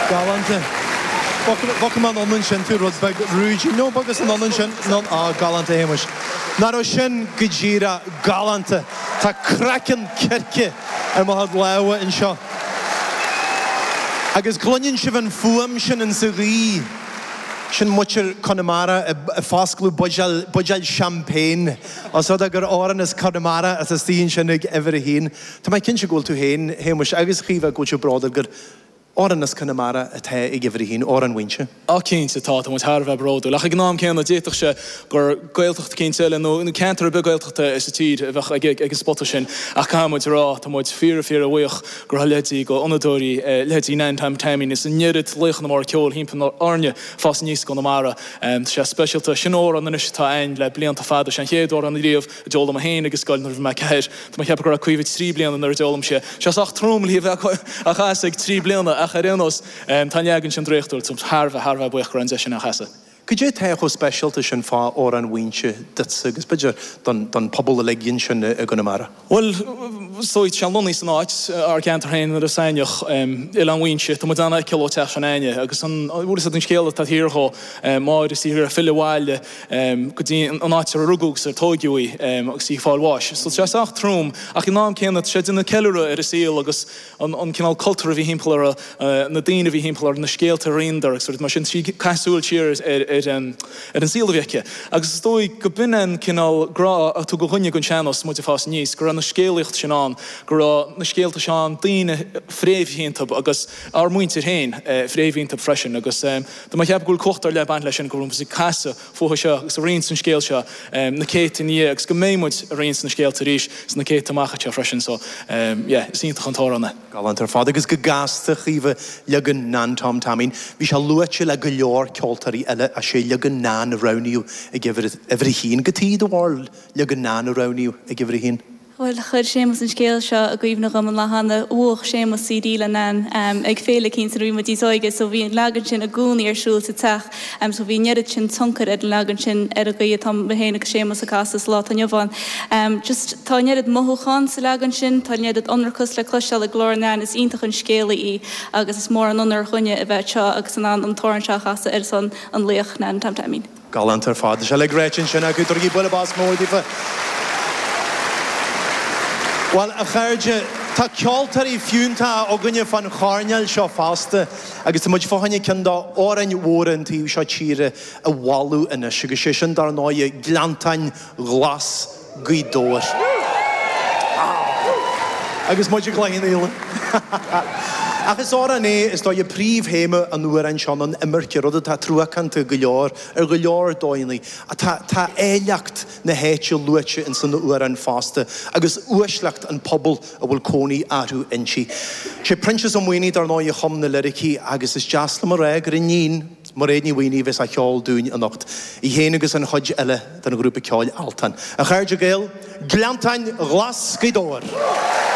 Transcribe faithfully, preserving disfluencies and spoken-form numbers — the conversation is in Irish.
Galánta. Bhogfaidh mé anonn ansin tú rud beag rúidí. No, bogas anonn ansin. No, á, galánta, a Shéamuis. Nach raibh sin go díreach galánta. Tá craiceann circe ar mo chuid lámha anseo. Agus cluineann sibh an fuaim sin insa ghaoth. Sin muintir Chonamara ag foscladh buidéal, buidéal champagne. Os rud é gur amhrán as Conamara atá istigh ansin ag uimhir a haon. Tá mé cinnte go bhfuil tú féin, a Shéamuis, agus a Chaoimhe, go bhfuil sibh bródúil gur amhrán as Conamara atá ag uimhir a haon, Amhrán Mhaínse. Á cinnte tá, tá muid thar a bheith bródúil. Ach ag an am céanna d'fhéadfadh sé gur Gaeltacht eicínt eile nó ceantar ar bith Gaeltachta sa tír a bheadh ag an spota sin. Ach caithfidh muid a rá, tá muid fíor fíor bhuíoch go raibh leithéidí go fhonnadóirí, leithéidí Nan Tom Taimín is an oiread laochanna móra ceoil thimpeall orainne fás aníos i gConamara. Tá sé speisialta. Sin amhrán anois atá a'ainn le blianta fada. Sé an chéad amhrán riamh a d'fhoghlaim mé féin ag an scoil nuair a bhí mé ceathair. Tá mé ag ceapadh go raibh Caoimhe trí bliana nuair a d'fhoghlaim sé. Sé sách trom léi a bheith á chasadh ag trí bliana ach ar aon nós tá an leagan sin draíochtúil. Tá thar a bheith, thar a bheith buíoch go raibh an deis sin á chasadh. Cad é atá chomh speisialta sin fá Amhrán Mhaínse duitse agus b'fhéidir don don pobal uilig ansin i gConamara? Bhuel, is dóigh, tá sé lonnaithe san áit, ár gceantar féin nuair a saineach, Oileán Mhaínse, tá muid an-fheiceáil ó teach sin a'inne agus an, bhfuil fhios agat an scéal atá thiar dhó, Máire is í ag iarraidh filleadh abhaile go dtí an áit ar rugadh agus ar tóigeadh í agus í ag fáil bháis. So tá sé sách trom ach ag an am céanna tá sé ag déanamh ceiliúradh ar a saol agus an an cineál cultúr a bhí thimpeall uirthi, na daoine a bhí thimpeall uirthi, na scéalta a roinneadar agus rudaí mar sin, trí caitheamh súil siar ar ar ar an saol a bhí aici. Agus is dóigh go b'in an cineál grá a tugadh dhúinne don sean-nós is muid ag fás aníos, go raibh na scéalaíocht sin ann, go raibh na scéalta seo ann, daoine fréamhaithe iontu agus ár muintir féin fréamhaithe iontu freisin. Agus tá mé ag ceapadh go bhfuil cumhacht ar leith ag baint leis sin, go bhfuil muid ag casadh fúthu seo agus ag roinnt an scéil seo na céadta ina dhiaidh agus go mbeidh muid ag roinnt na scéalta arís sna céadta amach anseo freisin. So yeah, is iontach an t-amhrán é. Galánta ar fad agus go gasta, a Chaoimhe, leagan Nan Tom Taimín. Bhí sé luaite le go leor ceoltóirí eile ach sé leagan Nan a roghnaíodh ag uimhir a haon. Cad chuige do bharúil leagan Nan a roghnaíodh ag uimhir a haon? Bhuel, chuir Séamus an scéal seo i gcuimhne dhom an lá cheana. Bhuaigh Séamus C D le Nan ag féile eicínt nuair a bhí muid níos óige so bhí an leagan sin i gcónaí ar siúl sa teach so bhí an oiread sin tionchair ar an leagan sin ar an gcaoi atá mé féin agus Séamus ag casadh sa lá atá inniu ann. Just tá an oiread mothúchán sa leagan sin, tá an oiread ionracas le cloisteáil i nglór Nan, is iontach an scéalaí í agus is mór an onóir dhúinne a bheith anseo agus in ann an t-amhrán seo a chasadh ar son an laoch Nan Tom Taimín. Galánta ar fad. Tá sé uilig ráite ansin acu. Tabhairigí buille bos mór daofa. Bhuel, a chairde, tá ceoltóirí fiúntacha againne fán choirnéal seo fosta agus tá muid fá choinne ceann d'amhráin mhóra an taobh seo tíre a mholadh anois agus sé sin dar ndóighe Gleanntáin Ghlas Gaoth Dobhair. Agus muid ag Cloich Cheann Fhaola. Ach is amhrán é, is dóigh, príomhthéama an amhráin seo ná an imirce, rud atá truacánta go leor ar go leor dóigheanna. Tá tá áilleacht na háite luaite ins an amhrán fosta agus uaisleacht an pobail a bhfuil cónaí orthu inti. Sé Proinsias Ó Maonaigh dar ndóigh a chum na liricí agus is deas liom a rá gur iníon, Mairéad Ní Mhaonaigh a bheas á cheol dúinn anocht, í féin agus an chuid eile den ghrúpa ceoil Altan. A chairde Gael, Gleanntáin Ghlas Ghaoth Dobhair!